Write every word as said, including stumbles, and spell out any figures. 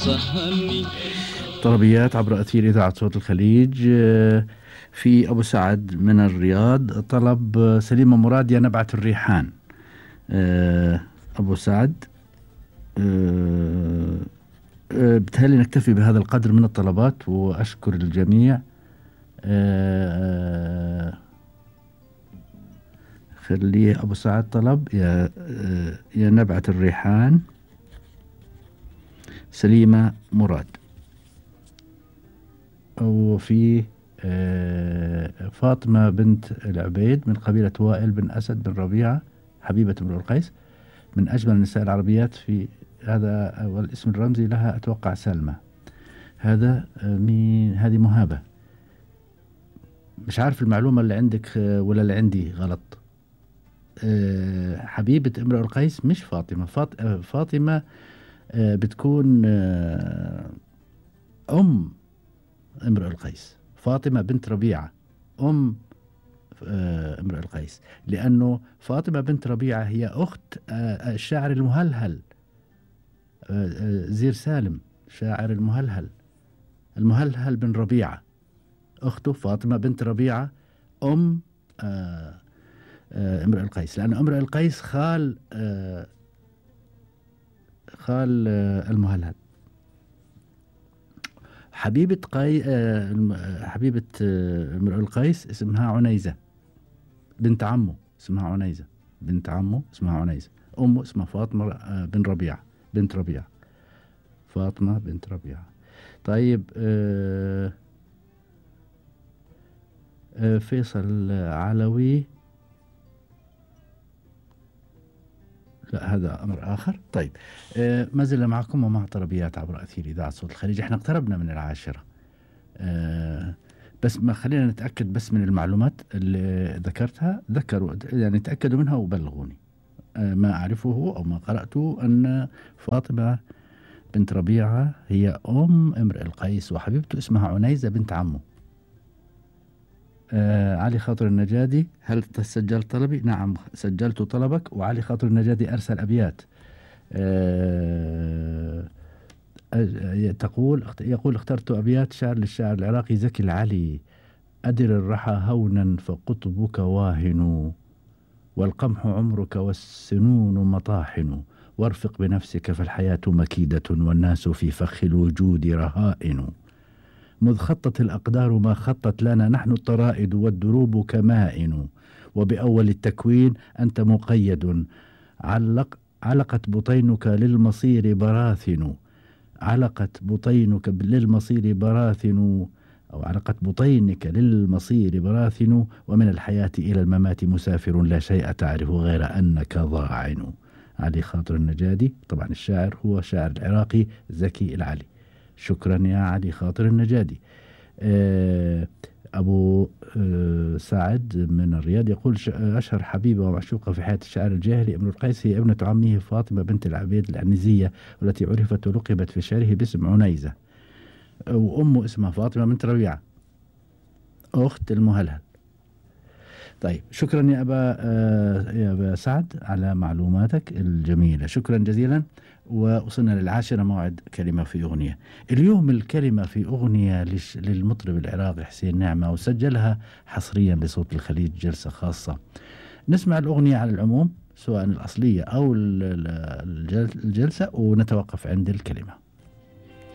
سهرني. طلبيات عبر أثير إذاعة صوت الخليج. في أبو سعد من الرياض طلب سليمة مراد يا نبعة الريحان. أبو سعد بتهيألي نكتفي بهذا القدر من الطلبات وأشكر الجميع. خليه أبو سعد طلب يا يا نبعة الريحان سليمة مراد. وفي فاطمة بنت العبيد من قبيلة وائل بن أسد بن ربيعة حبيبة امرؤ القيس من أجمل النساء العربيات في هذا، والاسم الرمزي لها أتوقع سلمى. هذا مين؟ هذه مهابة. مش عارف المعلومة اللي عندك ولا اللي عندي غلط. حبيبة امرؤ القيس مش فاطمة. فاطمة بتكون أم امرؤ القيس. فاطمة بنت ربيعة أم امرؤ القيس، لأنه فاطمة بنت ربيعة هي أخت الشاعر المهلهل زير سالم، شاعر المهلهل المهلهل بن ربيعة. أخته فاطمة بنت ربيعة أم امرؤ القيس، لأن امرؤ القيس خال خال المهلهل. حبيبة قي... حبيبة امرؤ القيس اسمها عنيزة بنت عمه، اسمها عنيزة بنت عمه اسمها عنيزة. أمه اسمها فاطمة بن ربيعة بنت ربيعة. فاطمة بنت ربيعة. طيب آه آه فيصل علوي، لا هذا أمر آخر. طيب آه ما زلنا معكم ومع طلبيات عبر أثير إذاعة صوت الخليج. احنا اقتربنا من العاشرة. آه بس ما خلينا نتأكد بس من المعلومات اللي ذكرتها. ذكروا يعني تأكدوا منها وبلغوني. آه ما أعرفه أو ما قرأته أن فاطمة بنت ربيعة هي أم امرئ القيس وحبيبته اسمها عنيزة بنت عمه. آه علي خاطر النجادي، هل سجلت طلبي؟ نعم سجلت طلبك. وعلي خاطر النجادي أرسل أبيات. آه تقول يقول اخترت أبيات شعر للشاعر العراقي زكي العلي. أدر الرحى هونا فقطبك واهن، والقمح عمرك والسنون مطاحن، وارفق بنفسك فالحياة مكيدة والناس في فخ الوجود رهائن. مذ خطت الأقدار ما خطت لنا نحن الطرائد والدروب كمائن، وبأول التكوين أنت مقيد. علق علقت بطينك للمصير براثن، علقت بطينك للمصير براثن أو علقت بطينك للمصير براثن، ومن الحياة إلى الممات مسافر لا شيء تعرف غير أنك ضاعن. علي خاطر النجادي. طبعا الشاعر هو شاعر العراقي زكي العلي. شكرا يا علي خاطر النجادي. أبو سعد من الرياض يقول أشهر حبيبة ومعشوقة في حياة الشاعر الجاهلي امرؤ القيس هي ابنة عمه فاطمة بنت العبيد العنزية، والتي عرفت ولقبت في شعره باسم عنيزة، وأمه اسمها فاطمة بنت ربيعة أخت المهلهل. طيب شكرا يا أبا يا أبا سعد على معلوماتك الجميلة، شكرا جزيلا. ووصلنا للعاشرة، موعد كلمة في أغنية. اليوم الكلمة في أغنية للمطرب العراقي حسين نعمة، وسجلها حصريا لصوت الخليج جلسة خاصة. نسمع الأغنية على العموم سواء الأصلية أو الجلسة ونتوقف عند الكلمة.